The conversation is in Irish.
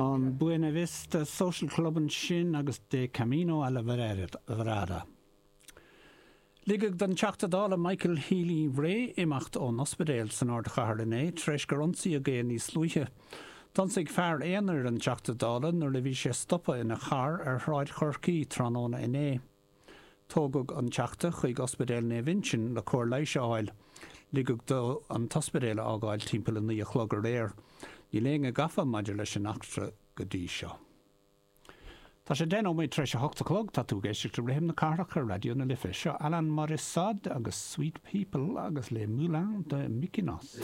An Buena Vista Social Club ansin agus De Camino a la Vereda. Ligeadh don Teachta Dála Michael Healy-Rae imeacht ón ospidéal san ardchathair inné tar éis gur ionsaíodh é níos luaithe. D'ionsaigh fear aonair an Teachta Dála nuair a bhí sé stoptha ina charr ar Shráid Chorcaí tráthnóna inné. Tógadh an Teachta chuig Ospidéal Naomh Uinseann le cóir leighis a fháil. Ligeadh dó an t-ospidéal a fhágáil timpeall 9 a chlog aréir. Níl éinne gafa maidir leis an eachtra go dtí seo. Tá sé 10 nóiméad tar éis a hocht a chlog, tá tú ag éisteacht le Rithim na Cathrach ar Raidió na Life. Seo Alain Morissette agus Sweet People agus Les Moulins de Mykonos.